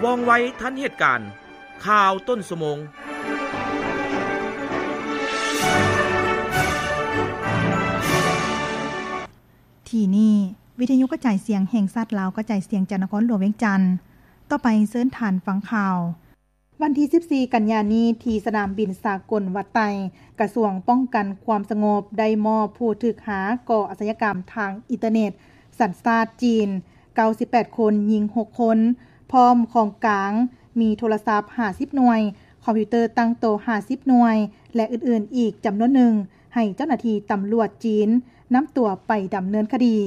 ວ່ອງໄວທັນເຫດການ. ຂ່າວຕົ້ນຊົ່ວໂມງ. ທີ່ນີ້ ວິທະຍຸກະຈາຍສຽງແຫ່ງຊາດລາວ ກະຈາຍສຽງຈາກນະຄອນຫຼວງວຽງຈັນ. ຕໍ່ໄປເຊີນທ່ານຟັງຂ່າວ. ວັນທີສິບສີ່ ກັນຍານີ້ ທີ່ສະໜາມບິນສາກົນວັດໄຕ, ກະຊວງປ້ອງກັນຄວາມສະຫງົບ ໄດ້ມອບຜູ້ຖືກຫາກໍ່ອາຊະຍາກຳທາງອິນເຕີເນັດ ສັນຊາດຈີນ ເກົ້າສິບແປດຄົນ, ຍິງຫົກຄົນ, ພ້ອມຂອງກາງ ມີໂທລະສັບຫ້າສິບໜ່ວຍ, ຄອມພິວເຕີຕັ້ງໂຕຫ້າສິບໜ່ວຍ ແລະ ອື່ນໆອີກຈຳນວນໜຶ່ງ ໃຫ້ເຈົ້າໜ້າທີ່ຕຳຫຼວດຈີນນຳຕົວໄປດຳເນີນຄະດີ.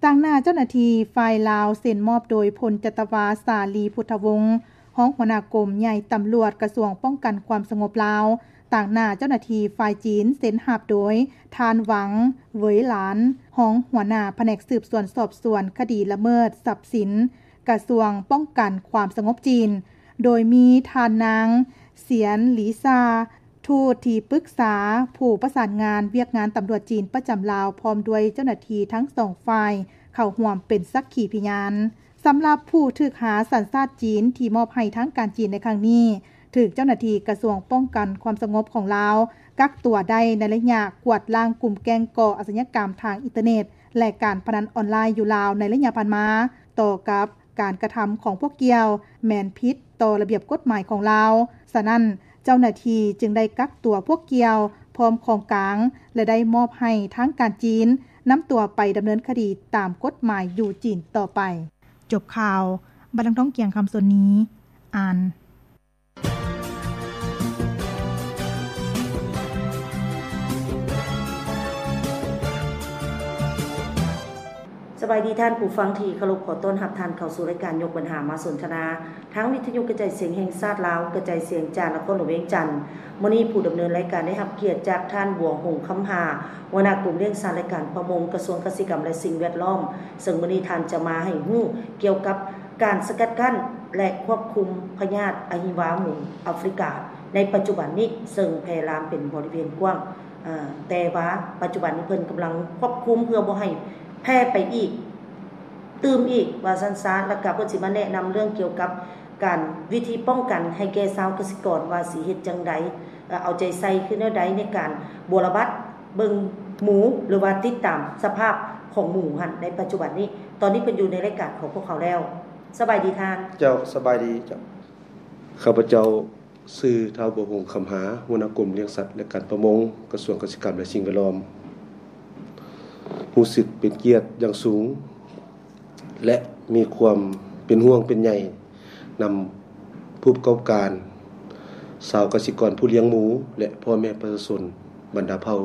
ຕາງໜ້າເຈົ້າໜ້າທີ່ ຝ່າຍລາວເຊັນມອບໂດຍ ພົນຈັດຕະວາ ສາລີ ພຸດທະວົງ ຮອງຫົວໜ້າກົມໃຫຍ່ຕຳຫຼວດ ກະຊວງປ້ອງກັນຄວາມສະຫງົບລາວ. ຕາງໜ້າເຈົ້າໜ້າທີ່ຝ່າຍຈີນເຊັນຮັບໂດຍ ທ່ານ ຫວັງ ເຫວີຍຫຼານ ຮອງຫົວໜ້າພະແນກສືບສວນສອບສວນຄະດີລະເມີດຊັບສິນ ກະຊວງປ້ອງກັນຄວາມສະຫງົບຈີນ, ໂດຍມີທ່ານນາງ ສຽນ ຫຼີຊາ ທູດທີ່ປຶກສາ ຜູ້ປະສານງານວຽກງານຕຳຫຼວດຈີນປະຈຳລາວ ພ້ອມດ້ວຍເຈົ້າໜ້າທີ່ທັງສອງຝ່າຍເຂົ້າຮ່ວມເປັນສັກຂີພະຍານ. ສຳລັບຜູ້ຖືກຫາສັນຊາດຈີນທີ່ມອບໃຫ້ທາງການຈີນໃນຄັ້ງນີ້ ຖືກເຈົ້າໜ້າທີ່ກະຊວງປ້ອງກັນຄວາມສະຫງົບຂອງລາວ ກັກຕົວໄດ້ໃນໄລຍະກວາດລ້າງກຸ່ມແກ້ງກໍ່ອາຊະຍາກຳທາງອິນເຕີເນັດ ແລະ ການພະນັນອອນລາຍຢູ່ລາວໃນໄລຍະຜ່ານມາ. ຕໍ່ກັບ ການກະທຳຂອງພວກກ່ຽວແມ່ນຜິດຕໍ່ລະບຽບກົດໝາຍຂອງລາວ. ສະນັ້ນ, ເຈົ້າໜ້າທີ່ຈຶ່ງໄດ້ກັກຕົວພວກກ່ຽວພ້ອມຂອງກາງ ແລະ ໄດ້ມອບໃຫ້ທາງການຈີນນຳຕົວໄປດຳເນີນຄະດີຕາມກົດໝາຍຢູ່ຈີນຕໍ່ໄປ. ຈົບຂ່າວ, ບັດດັງທອງ ກຽງຄຳ ສົນນີ ອ່ານ. ສະບາຍດີທ່ານຜູ້ຟັງທີ່ເຄົາລົບ, ຂໍຕ້ອນຮັບທ່ານເຂົ້າສູ່ລາຍການຍົກບັນຫາມາສົນທະນາ ທາງວິທະຍຸກະຈາຍສຽງແຫ່ງຊາດລາວ ກະຈາຍສຽງຈາກນະຄອນຫຼວງວຽງຈັນ. ມື້ນີ້ຜູ້ດຳເນີນລາຍການໄດ້ຮັບກຽດຈາກທ່ານ ບວງຫົງ ຄຳຫາ ຫົວໜ້າກົມລ້ຽງສັດ ແລະ ການປະມົງ ກະຊວງກະສິກຳ ແລະ ສິ່ງແວດລ້ອມ, ເຊິ່ງມື້ນີ້ທ່ານຈະມາໃຫ້ຮູ້ກ່ຽວກັບ ການສະກັດກັ້ນ ແລະ ຄວບຄຸມພະຍາດອະຫິວາໝູອາຟຣິກາໃນປັດຈຸບັນນີ້ ເຊິ່ງແຜ່ລາມເປັນບໍລິເວນກວ້າງ, ເອີ ແຕ່ວ່າປັດຈຸບັນນີ້ເພິ່ນກຳລັງຄວບຄຸມເພື່ອບໍ່ໃຫ້ແຜ່ໄປອີກ, ຕື່ມອີກ ວ່າຊັ້ນຊະ. ແລ້ວກະເພິ່ນຊິມາແນະນຳເລື່ອງກ່ຽວກັບການ ວິທີປ້ອງກັນໃຫ້ແກ່ຊາວກະສິກອນວ່າຊິເຮັດຈັ່ງໃດ, ເອົາໃຈໃສ່ຄືແນວໃດໃນການບົວລະບັດເບິ່ງໝູ ຫຼືວ່າຕິດຕາມສະພາບຂອງໝູຫັ້ນໃນປັດຈຸບັນນີ້. ຕອນນີ້ເພິ່ນຢູ່ໃນລາຍການຂອງພວກເຮົາແລ້ວ. ສະບາຍດີທ່ານ. ເຈົ້າ, ສະບາຍດີເຈົ້າ. ຂ້າພະເຈົ້າຊື່ ທ້າວ ບົວຫົງ ຄຳຫາ ຫົວໜ້າກົມລ້ຽງສັດ ແລະ ການປະມົງ ກະຊວງກະສິກຳ ແລະ ສິ່ງແວດລ້ອມ. ຮູ້ສຶກເປັນກຽດຢ່າງສູງ ແລະ ມີຄວາມເປັນຫ່ວງເປັນໃຍນຳຜູ້ປະກອບການ, ຊາວກະສິກອນຜູ້ລ້ຽງໝູ ແລະ ພໍ່ແມ່ປະຊາຊົນບັນດາເຜົ່າ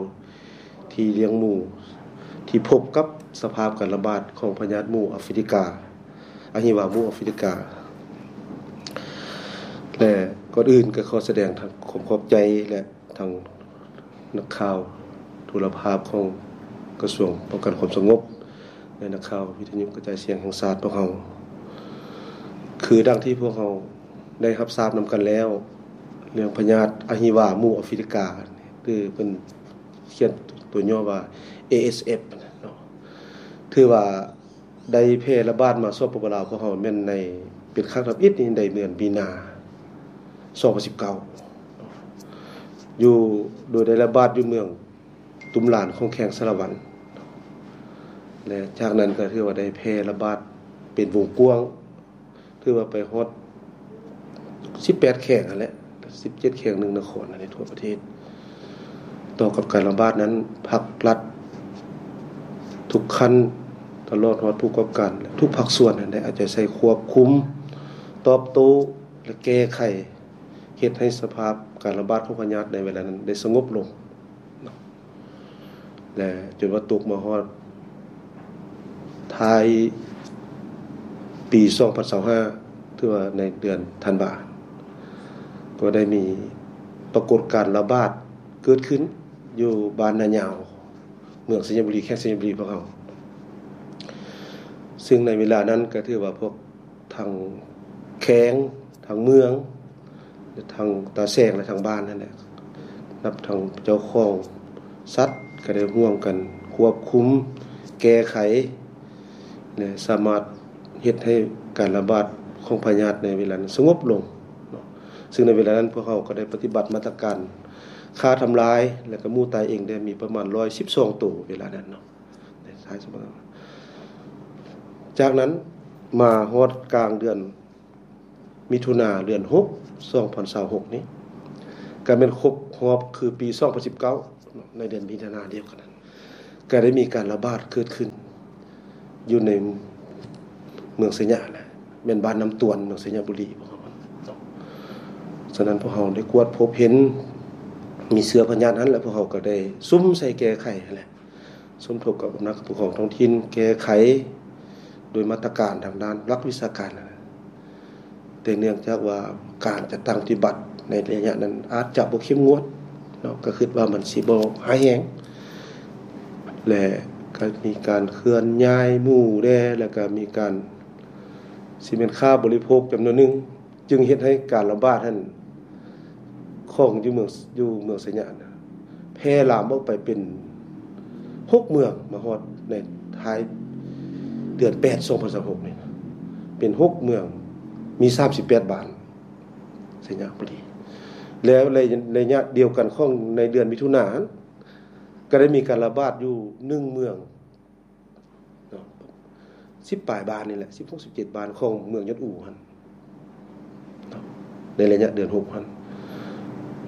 ທີ່ລ້ຽງໝູ ທີ່ພົບກັບສະພາບການລະບາດຂອງພະຍາດໝູອາຟຣິກາ, ອະຫິວາໝູອາຟຣິກາ. ແລະ ກ່ອນອື່ນກໍຂໍສະແດງທັງຄວາມຂອບໃຈ ແລະ ທັງນັກຂ່າວໂທລະພາບຂອງກະຊວງປ້ອງກັນຄວາມສະຫງົບ ແລະ ນັກຂ່າວວິທະຍຸກະຈາຍສຽງແຫ່ງຊາດພວກເຮົາ. ຄືດັ່ງທີ່ພວກເຮົາໄດ້ຮັບຊາບນຳກັນແລ້ວ, ເລື່ອງພະຍາດອະຫິວາໝູອາຟຣິກາ ຫຼື ເພິ່ນ ຂຽນຕົວຫຍໍ້ວ່າ ເອເອສເອັຟ ເນາະ ຖືວ່າໄດ້ແຜ່ລະບາດມາ ສປປ ລາວ ພວກເຮົາແມ່ນໃນ ເປັນຄັ້ງທຳອິດນີ້ ໃນເດືອນມີນາ ສອງພັນສິບເກົ້າ ຢູ່ ໂດຍໄດ້ລະບາດຢູ່ເມືອງຕຸມລານ ຂອງແຂວງສາລະວັນ ແລະ ຈາກນັ້ນກໍຖືວ່າໄດ້ແຜ່ລະບາດເປັນວົງກວ້າງ ຖືວ່າໄປຮອດສິບແປດແຂວງຫັ້ນແຫຼະ, ສິບເຈັດແຂວງ ໜຶ່ງນະຄອນໃນທົ່ວປະເທດ. ຕໍ່ກັບການລະບາດນັ້ນ ພັກລັດທຸກຂັ້ນ ຕະຫຼອດຮອດຜູ້ປະກອບການ ແລະ ທຸກພາກສ່ວນນັ້ນ ໄດ້ເອົາໃຈໃສ່ຄວບຄຸມ, ຕອບໂຕ້ ແລະ ແກ້ໄຂ, ເຮັດໃຫ້ສະພາບການລະບາດຂອງພະຍາດໃນເວລານັ້ນໄດ້ສະຫງົບລົງເນາະ. ແລະ ຈົນວ່າຕົກມາຮອດທ້າຍປີສອງພັນຊາວຫ້າ ຖືວ່າໃນເດືອນທັນວາ ກໍໄດ້ມີປາກົດການລະບາດເກີດຂຶ້ນຢູ່ບ້ານນາຍາວ ເມືອງໄຊຍະບູລີ, ແຂວງໄຊຍະບູລີພວກເຮົາ. ເຊິ່ງໃນເວລານັ້ນກໍຖືວ່າພວກ ທັງແຂວງ, ທັງເມືອງ, ທັງຕາແສງ ແລະ ທັງບ້ານນັ້ນແຫຼະ, ນັບທັງເຈົ້າຂອງສັດ ກໍໄດ້ຮ່ວມກັນຄວບຄຸມ, ແກ້ໄຂ ແລະ ສາມາດເຮັດໃຫ້ການລະບາດ ຂອງພະຍາດໃນເວລານັ້ນສະຫງົບລົງເນາະ. ຊຶ່ງໃນເວລານັ້ນພວກເຮົາກໍໄດ້ປະຕິບັດມາດຕະການຂ້າທຳລາຍ ແລະ ກໍໝູຕາຍເອງໄດ້ມີປະມານຮ້ອຍສິບສອງໂຕເວລານັ້ນເນາະ. ໃນທ້າຍສະບັບ ຈາກນັ້ນມາຮອດກາງເດືອນມິຖຸນາ ເດືອນຫົກ ສອງພັນຊາວຫົກນີ້ ກະແມ່ນຄົບຮອບຄືປີສອງພັນສິບເກົ້າເນາະ ໃນເດືອນມິຖຸນາດຽວກັນນັ້ນ ກະໄດ້ມີການລະບາດເກີດຂຶ້ນຢູ່ໃນເມືອງໄຊຍະ ແລະ ແມ່ນບ້ານນ້ຳຕວນ ເມືອງໄຊຍະບູລີ. ສະນັ້ນພວກເຮົາໄດ້ກວດພົບເຫັນມີເຊື້ອພະຍາດຫັ້ນ ແລະ ພວກເຮົາກໍໄດ້ສຸມໃສ່ແກ້ໄຂຫັ້ນແຫຼະ ສົມທົບກັບອຳນາດການປົກຄອງທ້ອງຖິ່ນແກ້ໄຂໂດຍມາດຕະການທາງດ້ານຫຼັກວິຊາການຫັ້ນແຫຼະ. ແຕ່ເນື່ອງຈາກວ່າການຈັດຕັ້ງປະຕິບັດໃນໄລຍະນັ້ນອາດຈະບໍ່ເຂັ້ມງວດເນາະ ກໍຄິດວ່າມັນຊິບໍ່ຮ້າຍແຮງ ແລະ ກໍມີການເຄື່ອນຍ້າຍໝູແດ່ ແລ້ວກໍມີການ ຊິແມ່ນຄ້າບໍລິໂພກຈຳນວນໜຶ່ງ ຈຶ່ງເຮັດໃຫ້ການລະບາດຫັ້ນ ຂອງຢູ່ເມືອງ ຢູ່ເມືອງໄຊຍະນະ ແຜ່ລາມອອກໄປເປັນຫົກເມືອງ ມາຮອດໃນທ້າຍເດືອນແປດ ສອງພັນຊາວຫົກນີ້ ເປັນຫົກເມືອງ ມີສາມສິບແປດບ້ານ ໄຊຍະບູລີ. ແລ້ວໃນໄລຍະດຽວກັນຂອງໃນເດືອນມິຖຸນາ ກໍໄດ້ມີການລະບາດຢູ່ໜຶ່ງເມືອງ ເນາະ ສິບປາຍບ້ານນີ້ແຫຼະ ສິບຫົກ ສິບເຈັດບ້ານຂອງເມືອງຍອດອູຫັ້ນເນາະ ໃນໄລຍະເດືອນຫົກຫັ້ນ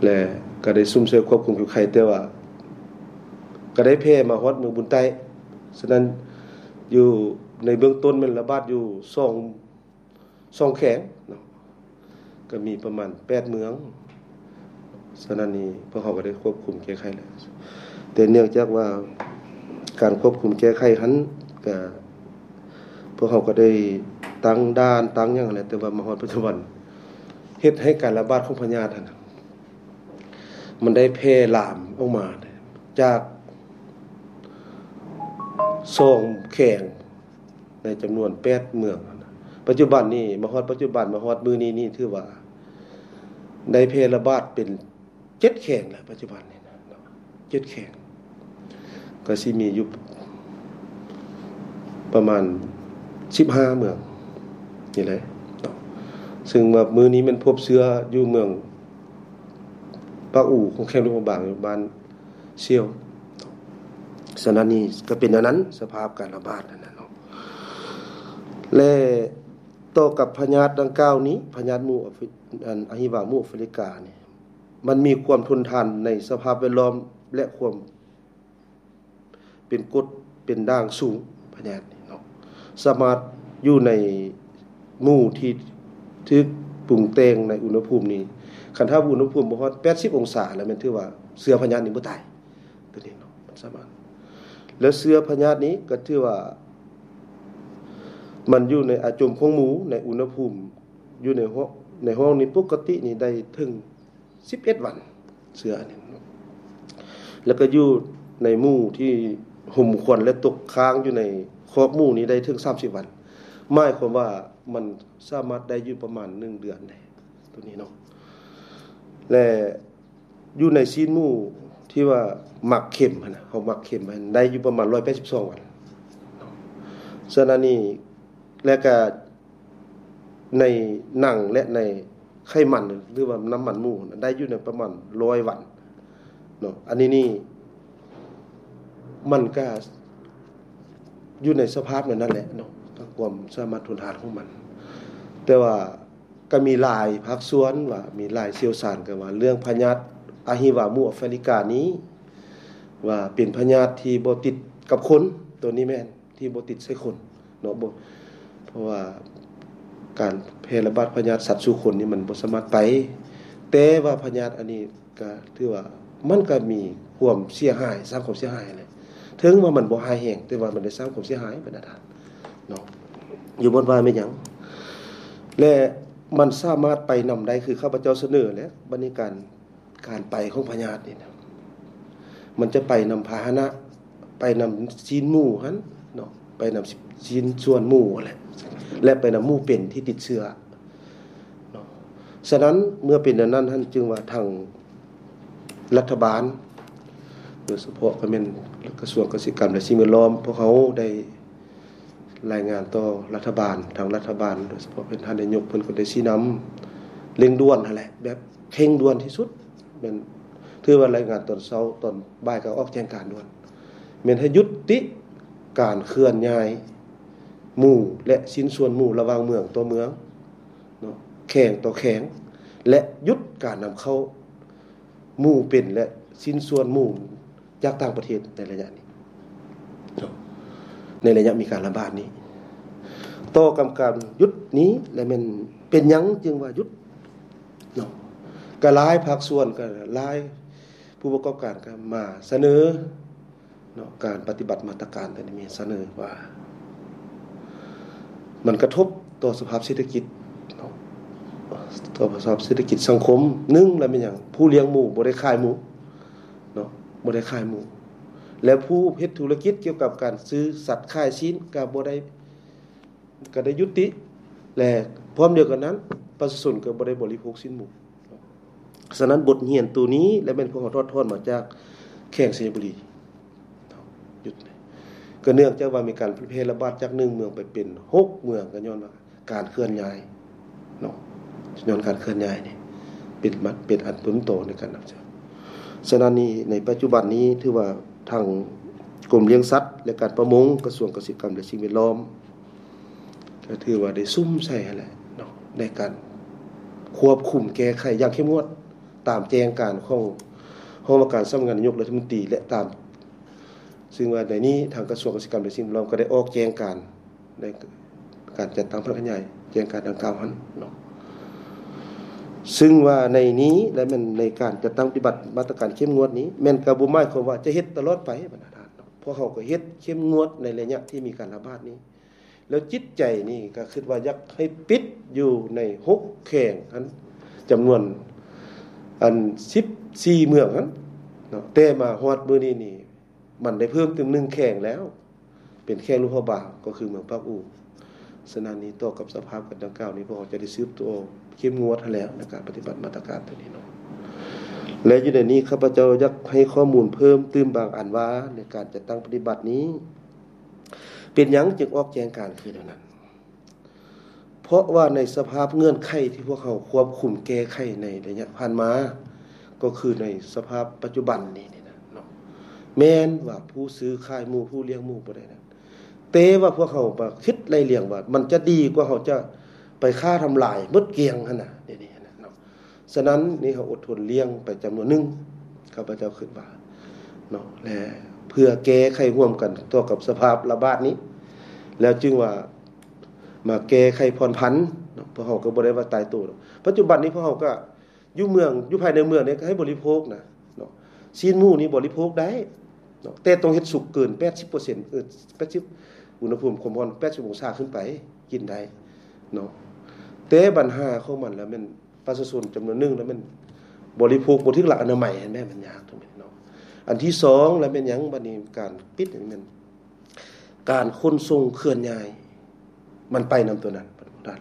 ແລະ ກໍໄດ້ສຸມຊ່ວຍຄວບຄຸມແກ້ໄຂ ແຕ່ວ່າກໍໄດ້ແຜ່ມາຮອດເມືອງບຸນໃຕ້. ສະນັ້ນຢູ່ໃນເບື້ອງຕົ້ນແມ່ນລະບາດຢູ່ສອງ ສອງແຂວງເນາະ ກໍມີປະມານແປດເມືອງ. ສະນັ້ນນີ້ພວກເຮົາກໍໄດ້ຄວບຄຸມແກ້ໄຂແລ້ວ ແຕ່ເນື່ອງຈາກວ່າການຄວບຄຸມແກ້ໄຂຫັ້ນ ກໍພວກເຮົາກໍໄດ້ຕັ້ງດ່ານຕັ້ງຫຍັງແລ້ວ ແຕ່ວ່າມາຮອດປັດຈຸບັນ ເຮັດໃຫ້ການລະບາດຂອງພະຍາດຫັ້ນນະ ມັນໄດ້ແຜ່ລາມອອກມາຈາກສອງແຂວງ ໃນຈຳນວນແປດເມືອງ. ປັດຈຸບັນນີ້ ມາຮອດປັດຈຸບັນ ມາຮອດມື້ນີ້ນີ້ ຖືວ່າໄດ້ແຜ່ລະບາດເປັນເຈັດແຂວງແລ້ວ ປັດຈຸບັນນີ້ນະ ເຈັດແຂວງ ກໍຊິມີຢູ່ປະມານສິບຫ້າເມືອງນີ້ແຫຼະເນາະ. ຊຶ່ງວ່າມື້ນີ້ແມ່ນພົບເຊື້ອຢູ່ເມືອງປາກອູ ແຂວງຫຼວງພະບາງ ຢູ່ບ້ານ ສ່ຽວ. ສະນັ້ນນີ້ກໍເປັນອັນນັ້ນ ສະພາບການລະບາດອັນນັ້ນເນາະ ແລະ ຕໍ່ກັບພະຍາດດັ່ງກ່າວນີ້ ພະຍາດໝູອາຟີ ອັນ ອະຫິວາໝູອາຟຣິການີ້ ມັນມີຄວາມທົນທານໃນສະພາບແວດລ້ອມ ແລະ ຄວາມເປັນກົດເປັນດ່າງສູງ ພະຍາດນີ້ເນາະ ສາມາດຢູ່ໃນ ໝູທີ່ຖືກປຸງແຕ່ງໃນອຸນຫະພູມນີ້ ຄັນຖ້າອຸນຫະພູມບໍ່ຮອດແປດສິບອົງສາແລ້ວ ແມ່ນຖືວ່າເຊື້ອພະຍາດນີ້ບໍ່ຕາຍ ຕົວນີ້ເນາະ ມັນສາມາດ ແລ້ວເຊື້ອພະຍາດນີ້ກໍຖືວ່າ ມັນຢູ່ໃນອາຈົມຂອງໝູ ໃນອຸນຫະພູມ ຢູ່ໃນຫ້ອງ ໃນຫ້ອງນີ້ປົກກະຕິນີ້ໄດ້ເຖິງ ສິບເອັດວັນ ເຊື້ອອັນນີ້ເນາະ ແລ້ວກໍຢູ່ໃນໝູທີ່ຫົມຄວັນ ແລະ ຕົກຄ້າງຢູ່ໃນຄອກໝູນີ້ໄດ້ເຖິງສາມສິບວັນ ໝາຍຄວາມວ່າມັນສາມາດໄດ້ຢູ່ປະມານໜຶ່ງເດືອນແດ່ ຕົວນີ້ເນາະ ແລະ ຢູ່ໃນຊີ້ນໝູທີ່ວ່າໝັກເຂັມຫັ້ນນະ ເຮົາໝັກເຂັມຫັ້ນ ໄດ້ຢູ່ປະມານຮ້ອຍແປດສິບສອງວັນເນາະ. ສະນັ້ນນີ້ ແລະກະ ໃນໜັງ ແລະ ໃນໄຂມັນ ຫຼືວ່ານ້ຳມັນໝູ ໄດ້ຢູ່ໃນປະມານຮ້ອຍວັນເນາະ. ອັນນີ້ນີ້ ມັນກະຢູ່ໃນສະພາບແນວນັ້ນແຫຼະເນາະ ຄວາມສາມາດທົນທານຂອງມັນ. ແຕ່ວ່າກະມີຫຼາຍພາກສ່ວນວ່າ ມີຫຼາຍຊ່ຽວຊານກໍວ່າ ເລື່ອງພະຍາດອະຫິວາໝູອາຟຣິການີ້ ວ່າເປັນພະຍາດທີ່ບໍ່ຕິດກັບຄົນ ໂຕນີ້ແມ່ນ ທີ່ບໍ່ຕິດໃສ່ຄົນເນາະ ບໍ່ ເພາະວ່າການແຜ່ລະບາດພະຍາດສັດສູ່ຄົນນີ້ມັນບໍ່ສາມາດໄປ ແຕ່ວ່າພະຍາດອັນນີ້ກະຖືວ່າມັນກະມີຄວາມເສຍຫາຍ ສ້າງຄວາມເສຍຫາຍແຫຼະ ເຖິງວ່າມັນບໍ່ຮ້າຍແຮງ ແຕ່ວ່າມັນໄດ້ສ້າງຄວາມເສຍຫາຍບັນດາທ່ານເນາະ ຢູ່ບ່ອນວ່າແມ່ນຫຍັງ ແລະ ມັນສາມາດໄປນຳໄດ້ ຄືຂ້າພະເຈົ້າສະເໜີແຫຼະ ບັດນີ້ການ ການໄປຂອງພະຍາດນີ້ນະ ມັນຈະໄປນຳພາຫະນະ ໄປນຳຊີ້ນໝູຫັ້ນເນາະ ໄປນຳຊີ້ນສ່ວນໝູຫັ້ນແຫຼະ ແລະ ໄປນຳໝູເປັນທີ່ຕິດເຊື້ອເນາະ. ສະນັ້ນ ເມື່ອເປັນແນວນັ້ນຫັ້ນ ຈຶ່ງວ່າທາງລັດຖະບານ ໂດຍສະເພາະກໍແມ່ນກະຊວງກະສິກຳ ແລະ ສິ່ງແວດລ້ອມ ພວກເຮົາໄດ້ ລາຍງານຕໍ່ລັດຖະບານ, ທາງລັດຖະບານ ໂດຍສະເພາະເປັນທ່ານນາຍົກ ເພິ່ນກໍໄດ້ຊີ້ນຳເລັ່ງດ່ວນຫັ້ນແຫຼະ ແບບເຄັ່ງດ່ວນທີ່ສຸດ. ແມ່ນ ຖືວ່າລາຍງານຕອນເຊົ້າ, ຕອນບ່າຍກໍອອກແຈ້ງການດ່ວນ, ແມ່ນໃຫ້ຢຸດຕິການເຄື່ອນຍ້າຍໝູ ແລະ ຊິ້ນສ່ວນໝູລະຫວ່າງເມືອງຕໍ່ເມືອງເນາະ, ແຂວງຕໍ່ແຂວງ ແລະ ຢຸດການນຳເຂົ້າໝູເປັນ ແລະ ຊິ້ນສ່ວນໝູ ຈາກຕ່າງປະເທດໃນໄລຍະນີ້ເນາະ, ໃນໄລຍະມີການລະບາດນີ້. ຕໍ່ກັບການຢຸດນີ້ ແລະ ແມ່ນເປັນຫຍັງຈຶ່ງວ່າຢຸດເນາະ, ກໍຫຼາຍພາກສ່ວນ, ກໍຫຼາຍຜູ້ປະກອບການກໍມາສະເໜີເນາະ, ການປະຕິບັດມາດຕະການຕົວນີ້ມີສະເໜີວ່າ ມັນກະທົບຕໍ່ສະພາບເສດຖະກິດເນາະ, ຕໍ່ສະພາບເສດຖະກິດສັງຄົມ. ໜຶ່ງ ລະແມ່ນຫຍັງ? ຜູ້ລ້ຽງໝູບໍ່ໄດ້ຂາຍໝູເນາະ, ບໍ່ໄດ້ຂາຍໝູ ແລະ ຜູ້ເຮັດທຸລະກິດກ່ຽວກັບການຊື້ສັດຂາຍຊີ້ນກໍບໍ່ໄດ້ ກໍໄດ້ຍຸຕິ ແລະ ພ້ອມດຽວກັນນັ້ນ ປະຊາຊົນກໍບໍ່ໄດ້ບໍລິໂພກຊີ້ນໝູ. ສະນັ້ນ ບົດຮຽນໂຕນີ້ ແລະ ແມ່ນພວກເຮົາຖອດຖອນມາຈາກແຂວງໄຊຍະບູລີ ຢຸດ ກໍເນື່ອງຈາກວ່າມີການແຜ່ລະບາດຈາກໜຶ່ງເມືອງໄປເປັນຫົກເມືອງ ກໍຍ້ອນວ່າການເຄື່ອນຍ້າຍເນາະ, ຍ້ອນການເຄື່ອນຍ້າຍນີ້ເປັນ ເປັນອັນຕົ້ນຕໍໃນການນຳໃຊ້. ສະນັ້ນນີ້ ໃນປັດຈຸບັນນີ້ ຖືວ່າທາງກົມລ້ຽງສັດ ແລະ ການປະມົງ ກະຊວງກະສິກຳ ແລະ ສິ່ງແວດລ້ອມ ກໍຖືວ່າໄດ້ສຸມໃສ່ຫັ້ນແຫຼະເນາະ ໃນການຄວບຄຸມແກ້ໄຂຢ່າງເຂັ້ມງວດ ຕາມແຈ້ງການຂອງຫ້ອງວ່າການສຳນັກງານນາຍົກລັດຖະມົນຕີ ແລະ ຕາມ ຊຶ່ງວ່າໃນນີ້ທາງກະຊວງກະສິກຳ ແລະ ສິ່ງແວດລ້ອມກໍໄດ້ອອກແຈ້ງການໃນການຈັດຕັ້ງພະນັກງານໃຫຍ່ ແຈ້ງການດັ່ງກ່າວຫັ້ນເນາະ. ຊຶ່ງວ່າໃນນີ້ ແລະ ແມ່ນໃນການຈັດຕັ້ງປະຕິບັດມາດຕະການເຂັ້ມງວດນີ້ ແມ່ນກໍບໍ່ໝາຍຄວາມວ່າຈະເຮັດຕະຫຼອດໄປບັນດາທ່ານເນາະ, ພວກເຮົາກໍເຮັດເຂັ້ມງວດໃນໄລຍະທີ່ມີການລະບາດນີ້. ແລ້ວຈິດໃຈນີ້ກໍຄິດວ່າຢາກໃຫ້ປິດຢູ່ໃນຫົກແຂວງຫັ້ນ ຈຳນວນອັນສິບສີ່ເມືອງຫັ້ນເນາະ, ແຕ່ມາຮອດມື້ນີ້ນີ້ ມັນໄດ້ເພີ່ມຕື່ມໜຶ່ງແຂວງແລ້ວ ເປັນແຂວງຫຼວງພະບາງ ກໍຄືເມືອງປາກອູ. ສະນັ້ນນີ້ ຕໍ່ກັບສະພາບການດັ່ງກ່າວນີ້ ພວກເຮົາຈະໄດ້ສືບຕໍ່ເຂັ້ມງວດຫັ້ນແຫຼະ ໃນການປະຕິບັດມາດຕະການຕົວນີ້ເນາະ. ແລະ ຢູ່ໃນນີ້ ຂ້າພະເຈົ້າຢາກໃຫ້ຂໍ້ມູນເພີ່ມຕື່ມບາງອັນວ່າ ໃນການຈັດຕັ້ງປະຕິບັດນີ້ ເປັນຫຍັງຈຶ່ງອອກແຈ້ງການຄືແນວນັ້ນ? ເພາະວ່າໃນສະພາບເງື່ອນໄຂທີ່ພວກເຮົາຄວບຄຸມແກ້ໄຂໃນໄລຍະຜ່ານມາ ກໍຄືໃນສະພາບປັດຈຸບັນນີ້ນີ້ນະເນາະ, ແມ່ນວ່າຜູ້ຊື້ຂາຍໝູ ຜູ້ລ້ຽງໝູບໍ່ໄດ້ນັ້ນ, ແຕ່ວ່າພວກເຮົາມາຄິດໄລ່ລຽງວ່າ ມັນຈະດີກວ່າເຮົາຈະໄປຂ້າທຳລາຍໝົດກ້ຽງຫັ້ນນະ ດຽວນີ້ຫັ້ນນະເນາະ. ສະນັ້ນນີ້ ເຮົາອົດທົນລ້ຽງໄປຈຳນວນໜຶ່ງ ຂ້າພະເຈົ້າຄິດວ່າເນາະ ແລະ ເພື່ອແກ້ໄຂຮ່ວມກັນຕໍ່ກັບສະພາບລະບາດນີ້ ແລ້ວຈຶ່ງວ່າມາແກ້ໄຂຜ່ອນຜັນເນາະ. ພວກເຮົາກໍບໍ່ໄດ້ວ່າຕາຍໂຕດອກ. ປັດຈຸບັນນີ້ພວກເຮົາກໍຢູ່ເມືອງ ຢູ່ພາຍໃນເມືອງນີ້ກໍໃຫ້ບໍລິໂພກນະເນາະ, ຊີ້ນໝູນີ້ບໍລິໂພກໄດ້ເນາະ ແຕ່ຕ້ອງເຮັດສຸກເກີນແປດສິບເປີເຊັນ ເອີ ແປດສິບ ອຸນຫະພູມຄວາມຮ້ອນແປດສິບອົງສາຂຶ້ນໄປ ກິນໄດ້ເນາະ. ແຕ່ບັນຫາຂອງມັນລະແມ່ນ ປະຊາຊົນຈຳນວນໜຶ່ງລະແມ່ນບໍລິໂພກບໍ່ຖືກຫຼັກອະນາໄມຫັ້ນແຫຼະ ມັນຍາກຕົງນີ້ເນາະ. ອັນທີສອງລະແມ່ນຫຍັງ? ບັດນີ້ການປິດນີ້ແມ່ນການຂົນສົ່ງເຄື່ອນຍ້າຍ ມັນໄປນຳຕົວນັ້ນ ປະຕິບັດ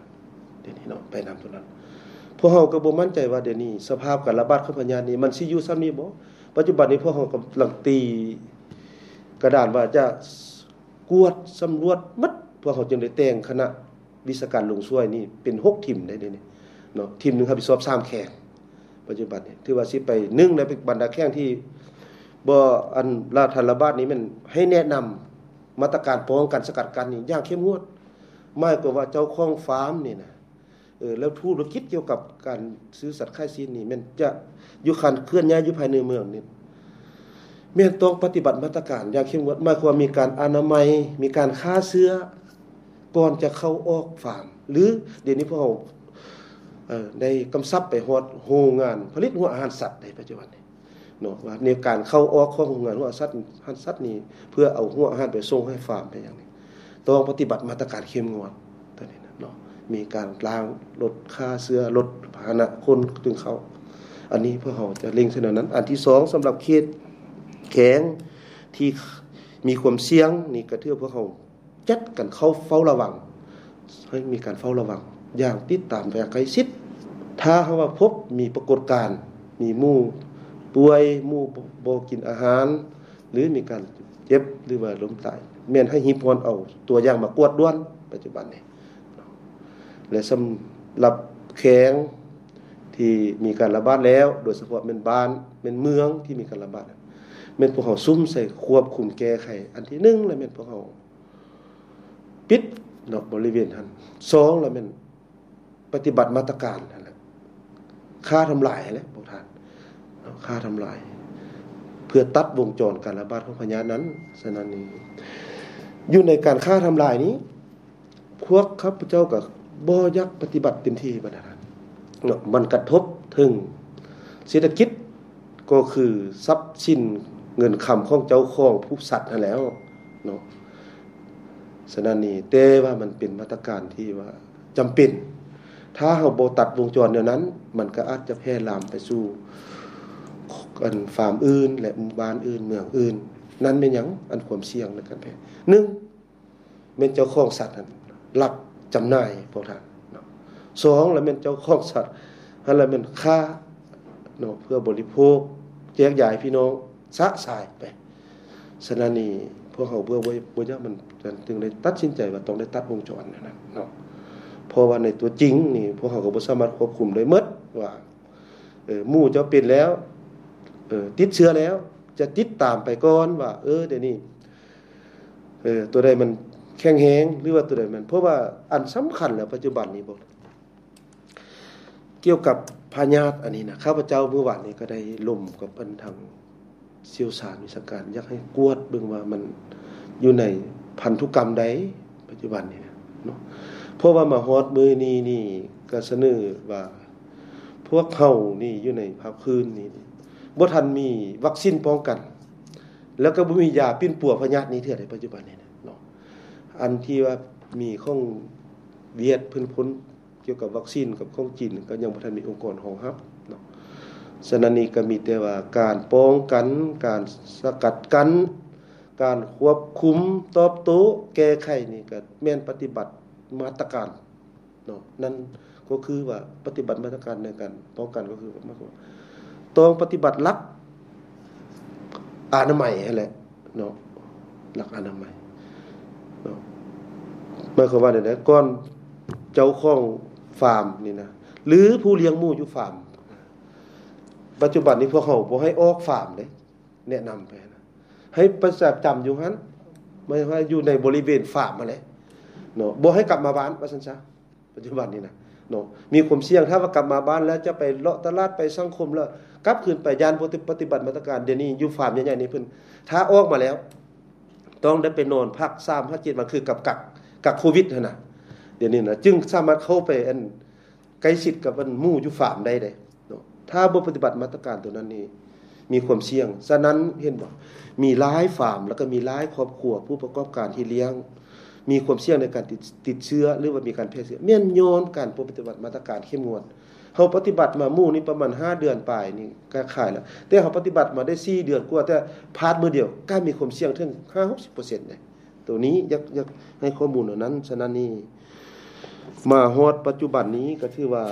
ດຽວນີ້ເນາະ ໄປນຳຕົວນັ້ນ. ພວກເຮົາກໍບໍ່ໝັ້ນໃຈວ່າດຽວນີ້ສະພາບການລະບາດຂອງພະຍາດນີ້ມັນຊິຢູ່ສ່ຳນີ້ບໍ່? ປັດຈຸບັນນີ້ພວກເຮົາກຳລັງຕີກະດານວ່າຈະ ກວດສຳຫຼວດໝົດ, ພວກເຮົາຈຶ່ງໄດ້ແຕ່ງຄະນະວິຊາການລົງຊ່ວຍນີ້ເປັນຫົກທີມໄດ້ເດນີ້ເນາະ, ທີມໜຶ່ງຮັບຜິດຊອບສາມແຂວງ. ປັດຈຸບັນນີ້ຖືວ່າຊິໄປ ໜຶ່ງ ໃນບັນດາແຂວງທີ່ບໍ່ ອັນລະ ທັນລະບາດນີ້ ແມ່ນໃຫ້ແນະນຳມາດຕະການປ້ອງກັນສະກັດກັ້ນນີ້ຢ່າງເຂັ້ມງວດ, ໝາຍຄວາມວ່າເຈົ້າຂອງຟາມນີ້ນະ ເອີ ແລ້ວທຸລະກິດກ່ຽວກັບການຊື້ສັດຂາຍຊີ້ນນີ້ ແມ່ນຈະຢູ່ການເຄື່ອນຍ້າຍຢູ່ພາຍໃນເມືອງນີ້ ແມ່ນຕ້ອງປະຕິບັດມາດຕະການຢ່າງເຂັ້ມງວດ, ໝາຍຄວາມວ່າມີການອະນາໄມ, ມີການຂ້າເຊື້ອກ່ອນຈະເຂົ້າອອກຟາມ ຫຼື ດຽວນີ້ພວກເຮົາ ເອີ ໄດ້ກຳຊັບໄປຮອດໂຮງງານຜະລິດຫົວອາຫານສັດໃນປັດຈຸບັນນີ້ ເນາະ ວ່າໃນການເຂົ້າອອກຂອງໂຮງງານຫົວສັດ ຫັນສັດນີ້ ເພື່ອເອົາຫົວອາຫານໄປສົ່ງໃຫ້ຟາມໄປຫຍັງນີ້ ຕ້ອງປະຕິບັດມາດຕະການເຂັ້ມງວດຕົວນີ້ນະເນາະ, ມີການລ້າງລົດ ຂ້າເຊື້ອລົດ ພາຫະນະຄົນຈຶ່ງເຂົ້າ. ອັນນີ້ພວກເຮົາຈະເລັ່ງໃສ່ແນວນັ້ນ. ອັນທີສອງ ສຳລັບເຂດແຂວງທີ່ມີຄວາມສ່ຽງນີ້ ກໍຖືວ່າພວກເຮົາ ຈັດການເຝົ້າ ເຝົ້າລະວັງ, ໃຫ້ມີການເຝົ້າລະວັງຢ່າງຕິດຕາມຢ່າງໃກ້ຊິດ. ຖ້າຫາກວ່າພົບມີປາກົດການ ມີໝູປ່ວຍ, ໝູບໍ່ ບໍ່ກິນອາຫານ ຫຼື ມີການເຈັບ ຫຼືວ່າລົ້ມຕາຍ, ແມ່ນໃຫ້ຮີບຮ້ອນເອົາຕົວຢ່າງມາກວດດ່ວນປັດຈຸບັນນີ້ ແລະ ສຳລັບແຂວງທີ່ມີການລະບາດແລ້ວ ໂດຍສະເພາະແມ່ນບ້ານ ແມ່ນເມືອງທີ່ມີການລະບາດ ແມ່ນພວກເຮົາສຸມໃສ່ຄວບຄຸມແກ້ໄຂ. ອັນທີໜຶ່ງລະແມ່ນພວກເຮົາປິດເນາະ ບໍລິເວນຫັ້ນ. ສອງລະແມ່ນ ປະຕິບັດມາດຕະການຫັ້ນແຫຼະ ຂ້າທຳລາຍຫັ້ນແຫຼະພວກທ່ານເນາະ ຂ້າທຳລາຍ ເພື່ອຕັດວົງຈອນການລະບາດຂອງພະຍາດນັ້ນ. ສະນັ້ນນີ້ ຢູ່ໃນການຂ້າທຳລາຍນີ້ ພວກຂ້າພະເຈົ້າກໍບໍ່ຢາກປະຕິບັດເຕັມທີ່ປານໃດເນາະ ມັນກະທົບເຖິງເສດຖະກິດ ກໍຄືຊັບສິນເງິນຄຳຂອງເຈົ້າຂອງຜູ້ສັດຫັ້ນແຫຼ້ວເນາະ. ສະນັ້ນນີ້ ແຕ່ວ່າມັນເປັນມາດຕະການທີ່ວ່າຈຳເປັນ ຖ້າເຮົາບໍ່ຕັດວົງຈອນແນວນັ້ນ ມັນກໍອາດຈະແຜ່ລາມໄປສູ່ອັນຟາມອື່ນ ແລະ ໝູ່ບ້ານອື່ນ ເມືອງອື່ນ. ນັ້ນແມ່ນຫຍັງ? ອັນຄວາມສ່ຽງໃນການແຜ່ ໜຶ່ງ ແມ່ນເຈົ້າຂອງສັດຫັ້ນລັກຈຳໜ່າຍພວກທ່ານເນາະ. ສອງລະແມ່ນເຈົ້າຂອງສັດຫັ້ນລະແມ່ນຂ້າເນາະ ເພື່ອບໍລິໂພກ ແຈກຢາຍພີ່ນ້ອງຊະຊາຍໄປ. ສະນັ້ນນີ້ ພວກເຮົາເພື່ອບໍ່ ບໍ່ຢາກມັນ ຈຶ່ງໄດ້ຕັດສິນໃຈວ່າຕ້ອງໄດ້ຕັດວົງຈອນນັ້ນນະເນາະ. ເພາະວ່າໃນຕົວຈິງນີ້ ພວກເຮົາກໍບໍ່ສາມາດຄວບຄຸມໄດ້ໝົດວ່າ ເອີ ໝູ່ເຈົ້າເປັນແລ້ວ ເອີ ຕິດເຊື້ອແລ້ວ ຈະຕິດຕາມໄປກ່ອນວ່າ ເອີ ດຽວນີ້ ເອີ ຕົວໃດມັນແຂງແຮງ ຫຼືວ່າຕົວໃດມັນ ເພາະວ່າອັນສຳຄັນແລ້ວປັດຈຸບັນນີ້ບໍ ກ່ຽວກັບພະຍາດອັນນີ້ນະ ຂ້າພະເຈົ້າມື້ວານນີ້ກໍໄດ້ລົມກັບອັນທາງຊ່ຽວຊານວິຊາການ ຢາກໃຫ້ກວດເບິ່ງວ່າມັນຢູ່ໃນພັນທຸກຳໃດ ປັດຈຸບັນນີ້ນະເນາະ. ເພາະວ່າມາຮອດມື້ນີ້ນີ້ ກໍສະເໜີວ່າ ພວກເຮົານີ້ຢູ່ໃນພາກພື້ນນີ້ ບໍ່ທັນມີວັກຊີນປ້ອງກັນ ແລ້ວກໍບໍ່ມີຢາປິ່ນປົວພະຍາດນີ້ເທື່ອໃດ ປັດຈຸບັນນີ້ນະເນາະ. ອັນທີ່ວ່າມີຂອງຫວຽດເພິ່ນຄົ້ນກ່ຽວກັບວັກຊີນກັບຂອງຈີນ ກໍຍັງບໍ່ທັນມີອົງກອນຮອງຮັບເນາະ. ສະນັ້ນນີ້ກໍມີແຕ່ວ່າການປ້ອງກັນ ການສະກັດກັ້ນ ການຄວບຄຸມ ຕອບໂຕ້ ແກ້ໄຂນີ້ ກໍແມ່ນປະຕິບັດມາດຕະການ ເນາະ. ນັ້ນກໍຄືວ່າປະຕິບັດມາດຕະການໃນການປ້ອງກັນ ກໍຄືໝາຍຄວາມວ່າຕ້ອງປະຕິບັດຫຼັກອະນາໄມຫັ້ນແຫຼະເນາະ ຫຼັກອະນາໄມເນາະ. ໝາຍຄວາມວ່າແນວໃດ? ກ່ອນເຈົ້າຂອງຟາມນີ້ນະ ຫຼືຜູ້ລ້ຽງໝູຢູ່ຟາມ ປັດຈຸບັນນີ້ພວກເຮົາບໍ່ໃຫ້ອອກຟາມເດ້ ແນະນຳໄປນະ ໃຫ້ປະຈຳຢູ່ຫັ້ນ ໝາຍວ່າຢູ່ໃນບໍລິເວນຟາມຫັ້ນແຫຼະເນາະ ບໍ່ໃຫ້ກັບມາບ້ານວ່າຊັ້ນຊະ. ປັດຈຸບັນນີ້ນະເນາະ ມີຄວາມສ່ຽງ ຖ້າວ່າກັບມາບ້ານແລ້ວຈະໄປເລາະຕະຫຼາດ ໄປສັງຄົມ ແລ້ວກັບຄືນໄປ ຢ້ານບໍ່ປະຕິບັດມາດຕະການ. ດຽວນີ້ຢູ່ຟາມໃຫຍ່ໆນີ້ເພິ່ນ ຖ້າອອກມາແລ້ວ ຕ້ອງໄດ້ໄປນອນພັກສາມຫາເຈັດວັນ ຄືກັກ ກັກ ກັກໂຄວິດຫັ້ນນະ. ດຽວນີ້ນະ ຈຶ່ງສາມາດເຂົ້າໄປອັນ ໃກ້ຊິດກັບອັນໝູຢູ່ຟາມໄດ້ເດ້ເນາະ. ຖ້າບໍ່ປະຕິບັດມາດຕະການຕົວນັ້ນນີ້ ມີຄວາມສ່ຽງ. ສະນັ້ນເຫັນບໍ່ ມີຫຼາຍຟາມ ແລ້ວກໍມີຫຼາຍຄອບຄົວຜູ້ປະກອບການທີ່ລ້ຽງ ມີຄວາມສ່ຽງໃນການຕິດ ຕິດເຊື້ອ ຫຼືວ່າມີການແຜ່ເຊື້ອ ແມ່ນຍ້ອນການບໍ່ປະຕິບັດມາດຕະການເຂັ້ມງວດ. ເຮົາປະຕິບັດມາໝູນີ້ປະມານຫ້າເດືອນປາຍນີ້ກໍຂາຍແລ້ວ ແຕ່ເຮົາປະຕິບັດມາໄດ້ສີ່ເດືອນກວ່າ ແຕ່ພາດມື້ດຽວກໍມີຄວາມສ່ຽງເຖິງຫ້າຫົກສິບເປີເຊັນເດ້. ໂຕນີ້ຢາກ ຢາກໃຫ້ຂໍ້ມູນເທົ່ານັ້ນ. ສະນັ້ນນີ້ ມາຮອດປັດຈຸບັນນີ້ກໍຖືວ່າ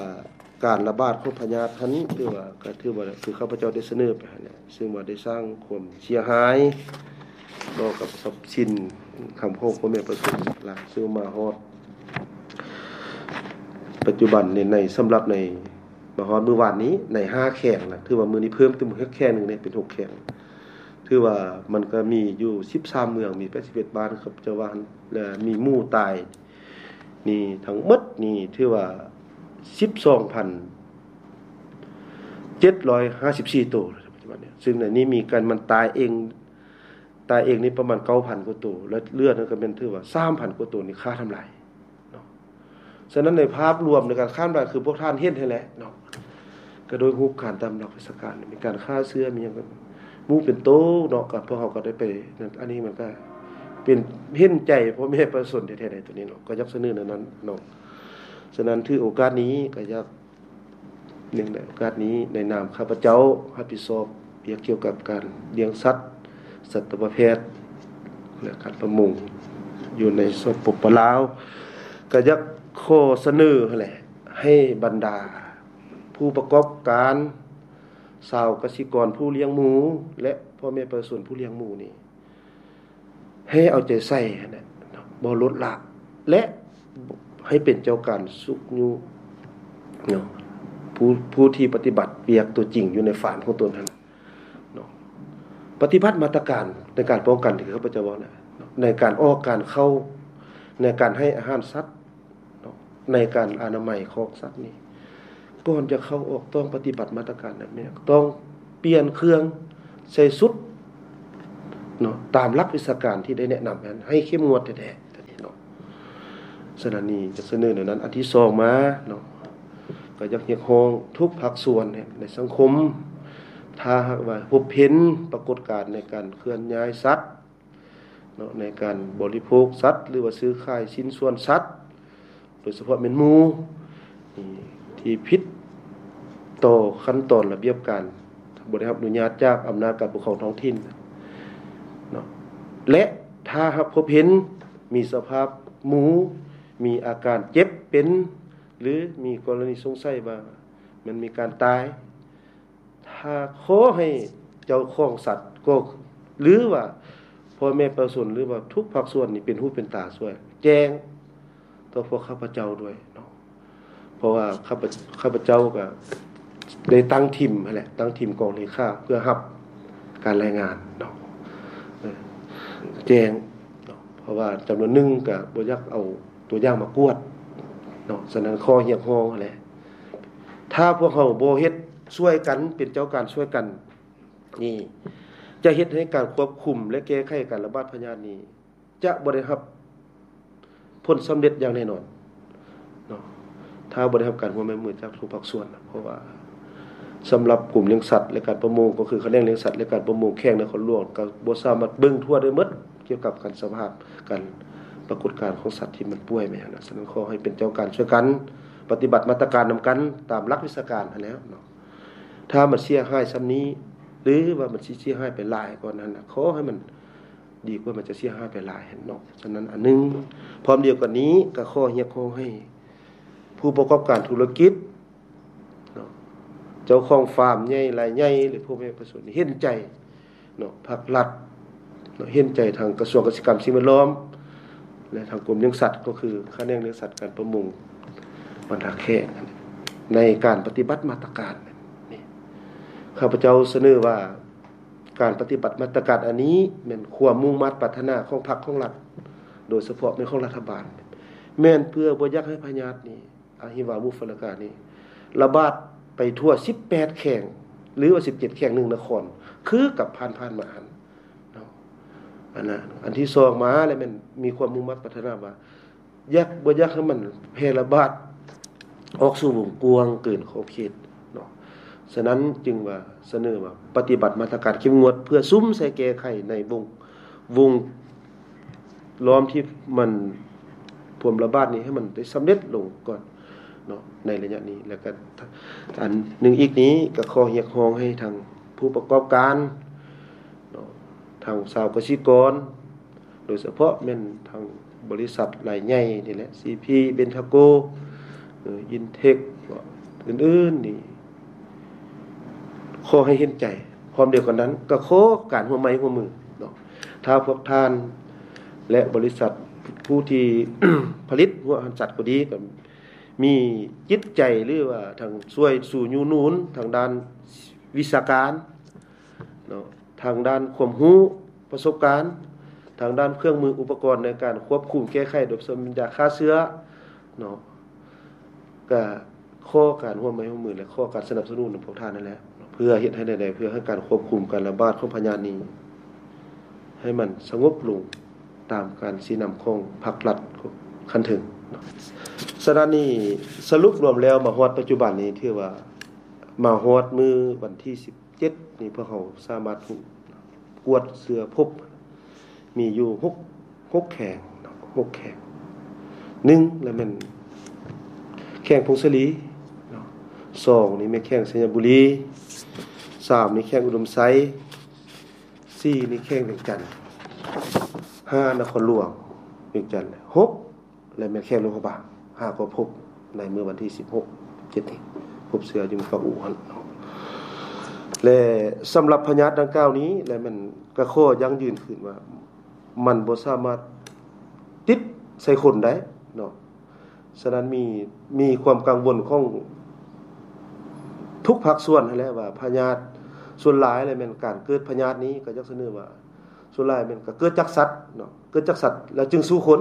ການລະບາດຂອງພະຍາດຫັ້ນ ຖືວ່າ ກໍຖືວ່າຄືຂ້າພະເຈົ້າໄດ້ສະເໜີໄປຫັ້ນແຫຼະ ຊຶ່ງວ່າໄດ້ສ້າງຄວາມເສຍຫາຍຕໍ່ກັບຊັບສິນຄຳຂອງພໍ່ແມ່ປະຊາຊົນຫຼາຍ ຊຶ່ງມາຮອດປັດຈຸບັນນີ້ ໃນ ສຳລັບໃນ ມາຮອດມື້ວານນີ້ ໃນຫ້າແຂວງນະ ຖືວ່າມື້ນີ້ເພີ່ມເຕີມອີກແຂວງໜຶ່ງເດ້ ເປັນຫົກແຂວງ. ຖືວ່າມັນກໍມີຢູ່ສິບສາມເມືອງ ມີແປດສິບເອັດບ້ານ ເຂົາເຈົ້າວ່າ ແລະ ມີໝູຕາຍນີ້ທັງໝົດນີ້ ຖືວ່າສິບສອງພັນເຈັດຮ້ອຍຫ້າສິບສີ່ໂຕ ປັດຈຸບັນນີ້. ຊຶ່ງໃນນີ້ມີການ ມັນຕາຍເອງ ຕາຍເອງນີ້ປະມານເກົ້າພັນກວ່າໂຕ ແລະ ເຫຼືອນັ້ນກໍແມ່ນຖືວ່າສາມພັນກວ່າໂຕນີ້ຂ້າທຳລາຍເນາະ. ສະນັ້ນໃນພາບລວມໃນການຂ້າມລາຍ ຄືພວກທ່ານເຫັນຫັ້ນແຫຼະເນາະ ກໍໂດຍຮູບການຕາມຫຼັກວິຊາການ ມີການຂ້າເຊື້ອ ມີຫຍັງ ໝູເປັນໂຕເນາະ ກໍພວກເຮົາກໍໄດ້ໄປນັ້ນ. ອັນນີ້ມັນກໍເປັນ ເຫັນໃຈພໍ່ແມ່ປະຊາຊົນແທ້ໆໃດ ໂຕນີ້ເນາະ ກໍຢາກສະເໜີແນວນັ້ນເນາະ. ສະນັ້ນຖືໂອກາດນີ້ກໍຢາກ ເນື່ອງໃນໂອກາດນີ້ ໃນນາມຂ້າພະເຈົ້າຮັບຜິດຊອບວຽກກ່ຽວກັບການລ້ຽງສັດ, ສັດຕະວະແພດ ແລະ ການປະມົງຢູ່ໃນ ສປປ ລາວ ກໍຢາກຂໍສະເໜີຫັ້ນແຫຼະ ໃຫ້ບັນດາຜູ້ປະກອບການ, ຊາວກະສິກອນຜູ້ລ້ຽງໝູ ແລະ ພໍ່ແມ່ປະຊາຊົນຜູ້ລ້ຽງໝູນີ້ ໃຫ້ເອົາໃຈໃສ່ຫັ້ນແຫຼະເນາະ ບໍ່ລົດລະ ແລະ ໃຫ້ເປັນເຈົ້າການຊຸກຍູ້ເນາະ ຜູ້ ຜູ້ທີ່ປະຕິບັດວຽກຕົວຈິງຢູ່ໃນຟາມຂອງຕົນຫັ້ນເນາະ ປະຕິບັດມາດຕະການໃນການປ້ອງກັນທີ່ຂ້າພະເຈົ້າເວົ້ານະເນາະ ໃນການອອກການເຂົ້າ ໃນການໃຫ້ອາຫານສັດເນາະ ໃນການອະນາໄມຂອງສັດນີ້ ກ່ອນຈະເຂົ້າອອກຕ້ອງປະຕິບັດມາດຕະການແບບນີ້ ຕ້ອງປ່ຽນເຄື່ອງ ໃສ່ຊຸດເນາະ ຕາມຫຼັກວິຊາການທີ່ໄດ້ແນະນຳນັ້ນ ໃຫ້ເຂັ້ມງວດແທ້ໆເນາະ. ສະນັ້ນນີ້ຈະສະເໜີແນວນັ້ນ. ອັນທີສອງມາເນາະ ກໍຢາກຮຽກຮ້ອງທຸກພາກສ່ວນໃນສັງຄົມ ຖ້າຫາກວ່າພົບເຫັນປາກົດການໃນການເຄື່ອນຍ້າຍສັດເນາະ ໃນການບໍລິໂພກສັດ ຫຼືວ່າຊື້ຂາຍຊິ້ນສ່ວນສັດ ໂດຍສະເພາະແມ່ນໝູທີ່ຜິດຕໍ່ຂັ້ນຕອນລະບຽບການ ບໍ່ໄດ້ຮັບອະນຸຍາດຈາກອຳນາດການປົກຄອງທ້ອງຖິ່ນເນາະ ແລະ ຖ້າຫາກພົບເຫັນມີສະພາບໝູມີອາການເຈັບເປັນ ຫຼື ມີກໍລະນີສົງໄສວ່າມັນມີການຕາຍ ຖ້າຂໍໃຫ້ເຈົ້າຂອງສັດກໍ ຫຼືວ່າພໍ່ແມ່ປະຊາຊົນ ຫຼືວ່າທຸກພາກສ່ວນນີ້ເປັນຫູເປັນຕາຊ່ວຍ ແຈ້ງຕໍ່ພວກຂ້າພະເຈົ້າດ້ວຍເນາະ ເພາະວ່າຂ້າພະ ຂ້າພະເຈົ້າກໍໄດ້ຕັ້ງທີມຫັ້ນແຫຼະ ຕັ້ງທີມກອງເລຂາເພື່ອຮັບການລາຍງານເນາະ ເອີ ແຈ້ງເນາະ ເພາະວ່າຈຳນວນໜຶ່ງກໍບໍ່ຢາກເອົາຕົວຢ່າງມາກວດເນາະ ສະນັ້ນຂໍຮຽກຮ້ອງຫັ້ນແຫຼະ ຖ້າພວກເຮົາບໍ່ເຮັດຊ່ວຍກັນ ເປັນເຈົ້າການຊ່ວຍກັນນີ້ ຈະເຮັດໃຫ້ການຄວບຄຸມ ແລະ ແກ້ໄຂການລະບາດພະຍາດນີ້ ຈະບໍ່ໄດ້ຮັບຜົນສຳເລັດຢ່າງແນ່ນອນເນາະ ຖ້າບໍ່ໄດ້ຮັບການຮ່ວມມືຈາກທຸກພາກສ່ວນ. ເພາະວ່າສຳລັບກົມລ້ຽງສັດ ແລະ ການປະມົງ ກໍຄືຂະແໜງລ້ຽງສັດ ແລະ ການປະມົງແຂວງນະຄອນຫຼວງ ກໍບໍ່ສາມາດເບິ່ງທົ່ວໄດ້ໝົດກ່ຽວກັບການສະພາບ ການປາກົດການຂອງສັດທີ່ມັນປ່ວຍແມ່ນຫຍັງນະ. ສະນັ້ນຂໍໃຫ້ເປັນເຈົ້າການຊ່ວຍກັນ ປະຕິບັດມາດຕະການນຳກັນຕາມຫຼັກວິຊາການຫັ້ນແຫຼ້ວເນາະ. ຖ້າມັນເສຍຫາຍສ່ຳນີ້ ຫຼືວ່າມັນຊິເສຍຫາຍໄປຫຼາຍກວ່ານັ້ນນະ ຂໍໃຫ້ມັນດີກວ່າມັນຈະເສຍຫາຍໄປຫຼາຍຫັ້ນເນາະ. ສະນັ້ນອັນໜຶ່ງ ພ້ອມດຽວກັນນີ້ກໍຂໍຮຽກຮ້ອງໃຫ້ຜູ້ປະກອບການທຸລະກິດເນາະ ເຈົ້າຂອງຟາມໃຫຍ່ລາຍໃຫຍ່ ຫຼື ພໍ່ແມ່ປະຊາຊົນເຫັນໃຈ ເນາະ ພາກລັດເນາະ ເຫັນໃຈທາງກະຊວງກະສິກຳສິ່ງແວດລ້ອມ ແລະ ທາງກົມລ້ຽງສັດ ກໍຄືຂະແໜງລ້ຽງສັດ ການປະມົງ ບັນດາແຂວງ ໃນການປະຕິບັດມາດຕະການນີ້. ຂ້າພະເຈົ້າສະເໜີວ່າ ການປະຕິບັດມາດຕະການອັນນີ້ ແມ່ນຄວາມມຸ່ງມາດປາດຖະໜາຂອງພັກຂອງລັດ ໂດຍສະເພາະແມ່ນຂອງລັດຖະບານ ແມ່ນເພື່ອບໍ່ຢາກໃຫ້ພະຍາດນີ້ ອະຫິວາມຸຟະລະການີ້ ລະບາດໄປທົ່ວສິບແປດແຂວງ ຫຼືວ່າສິບເຈັດແຂວງ ໜຶ່ງນະຄອນ ຄືກັບຜ່ານໆມາຫັ້ນເນາະ. ອັນນະ ອັນທີສອງມາແລ້ວແມ່ນມີຄວາມມຸ່ງມາດປາດຖະໜາວ່າ ຢາກ ບໍ່ຢາກໃຫ້ມັນແຜ່ລະບາດອອກສູ່ວົງກວ້າງເກີນຂອບເຂດເນາະ. ສະນັ້ນຈຶ່ງວ່າສະເໜີວ່າປະຕິບັດມາດຕະການເຂັ້ມງວດ ເພື່ອສຸມໃສ່ແກ້ໄຂໃນວົງ ວົງລ້ອມທີ່ມັນ ຄວາມລະບາດນີ້ໃຫ້ມັນໄດ້ສຳເລັດລົງກ່ອນເນາະ ໃນໄລຍະນີ້. ແລ້ວກໍອັນໜຶ່ງອີກນີ້ ກໍຂໍຮຽກຮ້ອງໃຫ້ທາງຜູ້ປະກອບການເນາະ ທາງຊາວກະສິກອນ ໂດຍສະເພາະແມ່ນທາງບໍລິສັດລາຍໃຫຍ່ນີ້ແຫຼະ ຊີພີ ເບັນທາໂກ ເອີ ອິນເທັກ ອື່ນໆນີ້ ຂໍໃຫ້ເຫັນໃຈ. ພ້ອມດຽວກັນນັ້ນ ກໍຂໍການຮ່ວມໄມ້ຮ່ວມມືເນາະ ຖ້າພວກທ່ານ ແລະ ບໍລິສັດຜູ້ທີ່ຜະລິດຫົວອາຫານສັດກໍດີ ກໍມີຈິດໃຈ ຫຼືວ່າທາງຊ່ວຍຊູນຍູ້ໜູນທາງດ້ານວິຊາການເນາະ ທາງດ້ານຄວາມຮູ້ປະສົບການ ທາງດ້ານເຄື່ອງມືອຸປະກອນໃນການຄວບຄຸມແກ້ໄຂ ໂດຍສະເພາະຢາຂ້າເຊື້ອເນາະ ກະ ຂໍການຮ່ວມໄມ້ຮ່ວມມື ແລະ ຂໍການສະໜັບສະໜູນນຳພວກທ່ານນັ້ນແຫຼະ ເພື່ອເຮັດໃຫ້ແນວໃດ ເພື່ອໃຫ້ການຄວບຄຸມການລະບາດຂອງພະຍາດນີ້ ໃຫ້ມັນສະຫງົບລົງຕາມການຊີ້ນຳຂອງພັກລັດຂັ້ນເທິງເນາະ. ສະນັ້ນນີ້ ສະຫຼຸບລວມແລ້ວ ມາຮອດປັດຈຸບັນນີ້ ຖືວ່າມາຮອດມື້ວັນທີສິບເຈັດນີ້ ພວກເຮົາສາມາດກວດເຊື້ອພົບ ມີຢູ່ຫົກ ຫົກແຂວງເນາະ ຫົກແຂວງ. ໜຶ່ງລະແມ່ນແຂວງຜົ້ງສາລີເນາະ, ສອງນີ້ແມ່ນແຂວງໄຊຍະບູລີ, ສາມນີ້ແຂວງອຸດົມໄຊ, ສີ່ນີ້ແຂວງວຽງຈັນ, ຫ້ານະຄອນຫຼວງວຽງຈັນ, ຫົກ ແລະ ແມ່ນແຂວງຫຼວງພະບາງ ຫາກໍພົບໃນມື້ວັນທີສິບຫົກ ເຈັດນີ້ ພົບເຊື້ອຢູ່ເມືອງປາກອູ່ຫັ້ນເນາະ. ແລະ ສຳລັບພະຍາດດັ່ງກ່າວນີ້ ແລະ ແມ່ນກະຂໍຢັ້ງຢືນຄືນວ່າ ມັນບໍ່ສາມາດຕິດໃສ່ຄົນໄດ້ເນາະ. ສະນັ້ນມີ ມີຄວາມກັງວົນຂອງທຸກພາກສ່ວນຫັ້ນແຫຼະ ວ່າພະຍາດສ່ວນຫຼາຍແລ້ວແມ່ນການເກີດພະຍາດນີ້ ກໍຢາກສະເໜີວ່າສ່ວນຫຼາຍແມ່ນກໍເກີດຈາກສັດເນາະ, ເກີດຈາກສັດແລ້ວຈຶ່ງສູ່ຄົນ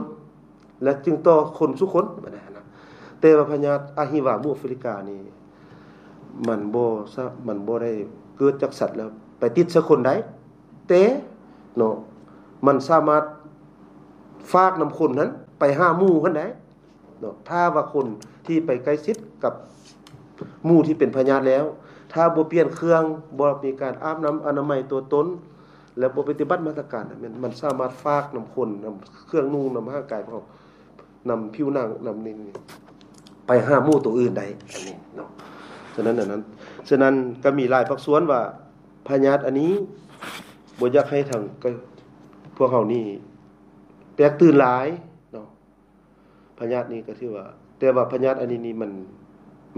ແລະຈຶ່ງຕໍ່ຄົນສູ່ຄົນ ແບບນັ້ນນະ. ແຕ່ວ່າພະຍາດອະຫິວາໝູ່ອາຟຣິການີ້ ມັນບໍ່ສາ ມັນບໍ່ໄດ້ເກີດຈາກສັດແລ້ວໄປຕິດໃສ່ຄົນໄດ້ ແຕ່ເນາະ ມັນສາມາດຝາກນຳຄົນຫັ້ນໄປຫາໝູ່ຫັ້ນໄດ້ເນາະ. ຖ້າວ່າຄົນທີ່ໄປໃກ້ຊິດກັບໝູ່ທີ່ເປັນພະຍາດແລ້ວ ຖ້າບໍ່ປ່ຽນເຄື່ອງ ບໍ່ມີການອາບນ້ຳອະນາໄມຕົວຕົນ ແລະບໍ່ປະຕິບັດມາດຕະການ ແມ່ນມັນສາມາດຝາກນຳຄົນ ນຳເຄື່ອງນຸ່ງ ນຳຮ່າງກາຍຂອງເຮົາ ນຳຜິວໜັງ ນຳນີ້ ໄປຫາໝູ່ໂຕອື່ນໄດ້ ອັນນີ້ເນາະ. ສະນັ້ນ ອັນນັ້ນ ສະນັ້ນກໍມີຫຼາຍພາກສ່ວນວ່າພະຍາດອັນນີ້ບໍ່ຢາກໃຫ້ທາງ ກໍ ພວກເຮົານີ້ແຕກຕື່ນຫຼາຍເນາະ. ພະຍາດນີ້ກໍຖືວ່າ ແຕ່ວ່າພະຍາດອັນນີ້ນີ້ມັນ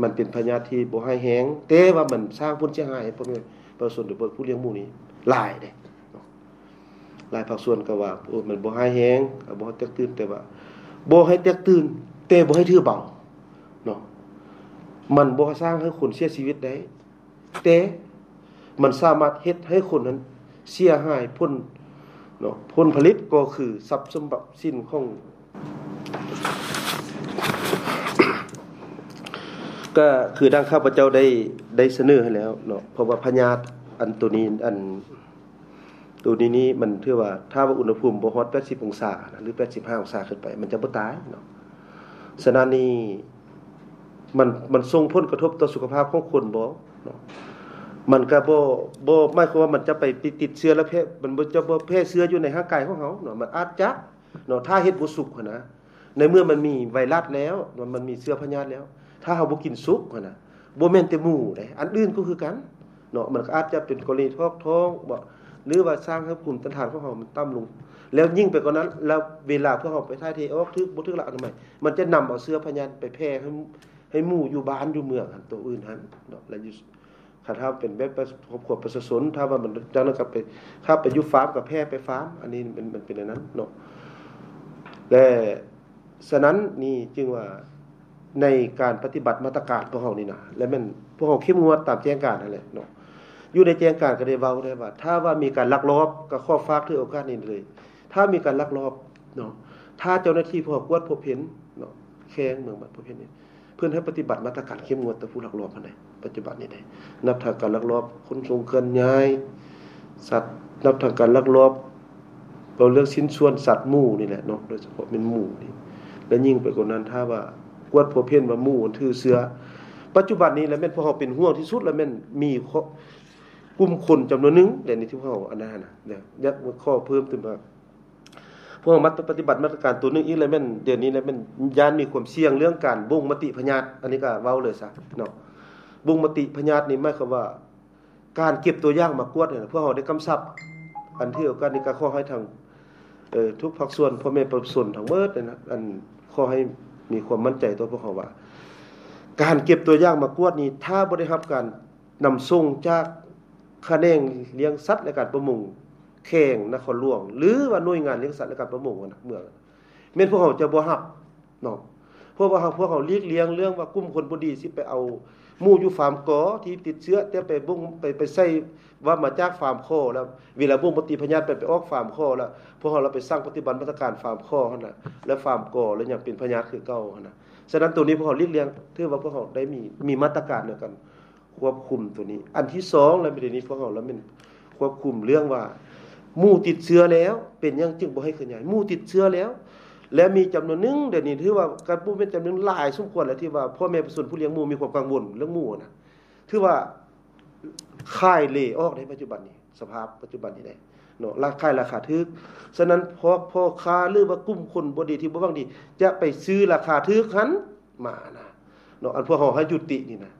ມັນເປັນພະຍາດທີ່ບໍ່ຮ້າຍແຮງ ແຕ່ວ່າມັນສ້າງຜົນເສຍຫາຍໃຫ້ພໍ່ແມ່ປະຊາຊົນ ໂດຍສະເພາະຜູ້ລ້ຽງໝູນີ້ຫຼາຍເດ້ເນາະ. ຫຼາຍພາກສ່ວນກໍວ່າ ໂອ້ ມັນບໍ່ຮ້າຍແຮງ ກໍບໍ່ໃຫ້ແຕກຕື່ນ ແຕ່ວ່າບໍ່ໃຫ້ແຕກຕື່ນ ແຕ່ບໍ່ໃຫ້ຖືເບົາເນາະ. ມັນບໍ່ສ້າງໃຫ້ຄົນເສຍຊີວິດໄດ້ ແຕ່ມັນສາມາດເຮັດໃຫ້ຄົນນັ້ນເສຍຫາຍ ຜົນເນາະ ຜົນຜະລິດກໍຄືຊັບສົມບັດສິນຂອງ ກໍຄືດັ່ງຂ້າພະເຈົ້າໄດ້ ໄດ້ສະເໜີໃຫ້ແລ້ວເນາະ. ເພາະວ່າພະຍາດອັນໂຕນີ້ ອັນ ໂຕນີ້ນີ້ມັນຖືວ່າ ຖ້າວ່າອຸນຫະພູມບໍ່ຮອດແປດສິບອົງສານະ ຫຼື ແປດສິບຫ້າອົງສາຂຶ້ນໄປ ມັນຈະບໍ່ຕາຍເນາະ. ສະນັ້ນນີ້ ມັນ ມັນສົ່ງຜົນກະທົບຕໍ່ສຸຂະພາບຂອງຄົນບໍ່ເນາະ? ມັນກະບໍ່ ບໍ່ໝາຍຄວາມວ່າມັນຈະໄປຕິດ ຕິດເຊື້ອແລ້ວແຜ່ ມັນບໍ່ ຈະບໍ່ແຜ່ເຊື້ອຢູ່ໃນຮ່າງກາຍຂອງເຮົາເນາະ. ມັນອາດຈະເນາະ ຖ້າເຮັດບໍ່ສຸກຫັ້ນນະ ໃນເມື່ອມັນມີໄວຣັສແລ້ວ ມັນ ມັນມີເຊື້ອພະຍາດແລ້ວ ຖ້າເຮົາບໍ່ກິນສຸກຫັ້ນນະ ບໍ່ແມ່ນແຕ່ໝູເດ້ ອັນອື່ນກໍຄືກັນເນາະ. ມັນກໍອາດຈະເປັນກໍລະນີຖອກທ້ອງບໍ ຫຼືວ່າສ້າງໃຫ້ພູມຕ້ານທານຂອງເຮົາມັນຕ່ຳລົງ ແລ້ວຍິ່ງໄປກວ່ານັ້ນ ແລ້ວເວລາພວກເຮົາໄປຖ່າຍເທອອກ ຖືກບໍ່ຖືກຫຼັກອະນາໄມ ມັນຈະນຳເອົາເຊື້ອພະຍາດໄປແຜ່ໃຫ້ ໃຫ້ໝູຢູ່ບ້ານຢູ່ເມືອງຫັ້ນ ໂຕອື່ນຫັ້ນເນາະ. ແລ້ວຢູ່ ຄັນຖ້າເປັນແບບຄອບຄົວປະຊາຊົນ ຖ້າວ່າມັນຈັ່ງນັ້ນກໍໄປ ຖ້າໄປຢູ່ຟາມກໍແຜ່ໄປຟາມ ອັນນີ້ມັນ ມັນເປັນອັນນັ້ນເນາະ. ແລະ ສະນັ້ນນີ້ຈຶ່ງວ່າ ໃນການປະຕິບັດມາດຕະການພວກເຮົານີ້ນະ ແລະແມ່ນພວກເຮົາເຂັ້ມງວດຕາມແຈ້ງການຫັ້ນແຫຼະເນາະ. ຢູ່ໃນແຈ້ງການກໍໄດ້ເວົ້າແລ້ວວ່າ ຖ້າວ່າມີການລັກລອບ ກໍຂໍຝາກຖືໂອກາດນີ້ເລີຍ ຖ້າມີການລັກລອບເນາະ ຖ້າເຈົ້າໜ້າທີ່ພວກເຮົາກວດພົບເຫັນເນາະ ແຂວງເມືອງບັດພົບເຫັນນີ້ ເພິ່ນໃຫ້ປະຕິບັດມາດຕະການເຂັ້ມງວດຕໍ່ຜູ້ລັກລອບຫັ້ນໃດ໋ ປັດຈຸບັນນີ້ໃດ໋ ນັບທັງການລັກລອບຂົນສົ່ງເຄື່ອນຍ້າຍສັດ ນັບທັງການລັກລອບ ເວົ້າເລື່ອງຊິ້ນສ່ວນສັດໝູນີ້ແຫຼະເນາະ ໂດຍສະເພາະແມ່ນໝູນີ້ ແລະຍິ່ງໄປກວ່ານັ້ນ ຖ້າວ່າກວດພົບເຫັນວ່າໝູມັນຖືເຊື້ອ ປັດຈຸບັນນີ້ລະແມ່ນພວກເຮົາເປັນຫ່ວງທີ່ສຸດ ລະແມ່ນມີຂໍ້ ກຸ່ມຄົນຈຳນວນໜຶ່ງ ແລະນີ້ທີ່ພວກເຮົາອັນນັ້ນນະ ຢາກ ຢາກຂໍເພີ່ມຕື່ມວ່າ ພວກເຮົາມາປະຕິບັດມາດຕະການຕົວໜຶ່ງອີກ ລະແມ່ນດຽວນີ້ລະແມ່ນຢ້ານມີຄວາມສ່ຽງເລື່ອງການບົ່ງມະຕິພະຍາດ ອັນນີ້ກໍເວົ້າເລີຍຊະເນາະ. ບົ່ງມະຕິພະຍາດນີ້ໝາຍຄວາມວ່າ ການເກັບຕົວຢ່າງມາກວດນີ້ ພວກເຮົາໄດ້ກຳຊັບ ອັນຖືໂອກາດນີ້ກໍຂໍໃຫ້ທາງ ເອີ ທຸກພາກສ່ວນ ພໍ່ແມ່ປະຊາຊົນທັງໝົດນີ້ນະ ອັນ ຂໍໃຫ້ມີຄວາມໝັ້ນໃຈຕໍ່ພວກເຮົາວ່າ ການເກັບຕົວຢ່າງມາກວດນີ້ ຖ້າບໍ່ໄດ້ຮັບການນຳສົ່ງຈາກຂະແໜງລ້ຽງສັດ ແລະ ການປະມົງ ແຂວງນະຄອນຫຼວງ ຫຼືວ່າໜ່ວຍງານລ້ຽງສັດ ແລະ ການປະມົງຫັ້ນນະ ເມືອງ ແມ່ນພວກເຮົາຈະບໍ່ຮັບເນາະ. ເພາະວ່າເຮົາ ພວກເຮົາຫຼີກລ່ຽງເລື່ອງວ່າກຸ່ມຄົນບໍ່ດີຊິໄປເອົາໝູຢູ່ຟາມກໍທີ່ຕິດເຊື້ອ ແຕ່ໄປບົ່ງ ໄປ ໄປໃສ່ວ່າມາຈາກຟາມຂໍ ແລ້ວເວລາບົ່ງມະຕິພະຍາດໄປ ໄປອອກຟາມຂໍ ແລ້ວພວກເຮົາລະໄປສັ່ງປະຕິບັດມາດຕະການຟາມຂໍຫັ້ນນະ ແລ້ວຟາມກໍລະຍັງເປັນພະຍາດຄືເກົ່າຫັ້ນນະ. ສະນັ້ນໂຕນີ້ພວກເຮົາຫຼີກລ່ຽງ ຖືວ່າພວກເຮົາໄດ້ມີ ມີມາດຕະການໃນການ ຄວບຄຸມໂຕນີ້. ອັນທີສອງລະ ດຽວນີ້ພວກເຮົາລະແມ່ນຄວບຄຸມເລື່ອງວ່າ ໝູຕິດເຊື້ອແລ້ວ ເປັນຫຍັງຈຶ່ງບໍ່ໃຫ້ເຄື່ອນຍ້າຍ? ໝູຕິດເຊື້ອແລ້ວ ແລະ ມີຈຳນວນໜຶ່ງ ດຽວນີ້ຖືວ່າກໍບໍ່ແມ່ນຈຳນວນຫຼາຍສົມຄວນແລ້ວ ທີ່ວ່າພໍ່ແມ່ປະຊາຊົນຜູ້ລ້ຽງໝູມີຄວາມກັງວົນເລື່ອງໝູນະ ຖືວ່າຂາຍເລອອກໃນປັດຈຸບັນນີ້ ສະພາບປັດຈຸບັນນີ້ເດ້ເນາະ ລາ ຂາຍລາຄາຖືກ. ສະນັ້ນ ພວກພໍ່ຄ້າ ຫຼືວ່າກຸ່ມຄົນບໍ່ດີທີ່ບໍ່ຫວັງດີ ຈະໄປຊື້ລາຄາຖືກຫັ້ນ ມານະເນາະ ອັນພວກເຮົາໃຫ້ຍຸຕິນີ້ນະ.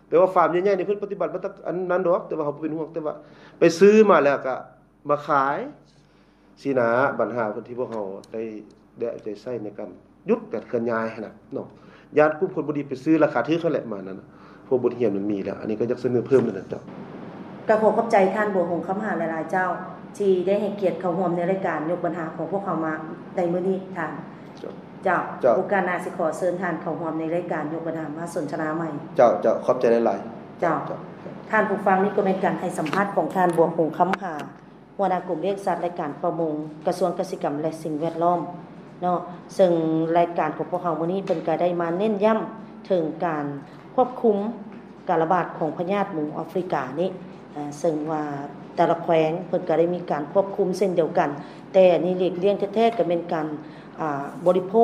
ແຕ່ວ່າຟາມໃຫຍ່ໆນີ້ເພິ່ນປະຕິບັດມາຕະ ອັນນັ້ນດອກ ແຕ່ວ່າເຮົາບໍ່ເປັນຫ່ວງ ແຕ່ວ່າໄປຊື້ມາແລ້ວກະມາຂາຍຊີ້ນະ. ບັນຫາເພິ່ນທີ່ພວກເຮົາໄດ້ ໄດ້ເອົາໃຈໃສ່ໃນການຢຸດການເຄື່ອນຍ້າຍຫັ້ນນະເນາະ ຢ້ານກຸ່ມຄົນບໍ່ດີໄປຊື້ລາຄາຖືກຫັ້ນແຫຼະ ມານັ້ນນະ. ພວກບົດຮຽນມັນມີແລ້ວ ອັນນີ້ກໍຢາກສະເໜີເພີ່ມນັ້ນນະເຈົ້າ. ກໍຂໍຂອບໃຈທ່ານບົວຫົງຄຳຫາຫຼາຍໆເຈົ້າ. ທີ່ໄດ້ໃຫ້ກຽດເຂົ້າຮ່ວມໃນລາຍການຍົກບັນຫາຂອງພວກເຮົາມາໃນມື້ນີ້ທ່ານ. ເຈົ້າ. ເຈົ້າ. ເຈົ້າ. ໂອກາດໜ້າຊິຂໍເຊີນທ່ານເຂົ້າຮ່ວມໃນລາຍການຍົກບັນຫາມາສົນທະນາໃໝ່. ເຈົ້າ, ເຈົ້າ. ຂອບໃຈຫຼາຍໆ. ເຈົ້າ. ເຈົ້າ. ທ່ານຜູ້ຟັງ, ນີ້ກໍແມ່ນການໃຫ້ສຳພາດຂອງທ່ານ ບົວຄົງ ຄຳຫາ ຫົວໜ້າກົມວຽກສັດ ແລະ ການປະມົງ ກະຊວງກະສິກຳ ແລະ ສິ່ງແວດລ້ອມເນາະ, ເຊິ່ງລາຍການຂອງພວກເຮົາມື້ນີ້ ເພິ່ນກໍໄດ້ມາເນັ້ນຢ້ຳເຖິງການຄວບຄຸມການລະບາດຂອງພະຍາດໝູແອຟຣິການີ້, ເຊິ່ງວ່າແຕ່ລະແຂວງເພິ່ນກໍໄດ້ມີການຄວບຄຸມເຊັ່ນດຽວກັນ, ແຕ່ອັນນີ້ຫຼີກລ່ຽງແທ້ໆ ກໍແມ່ນການ ອ່າ ບໍລິໂພ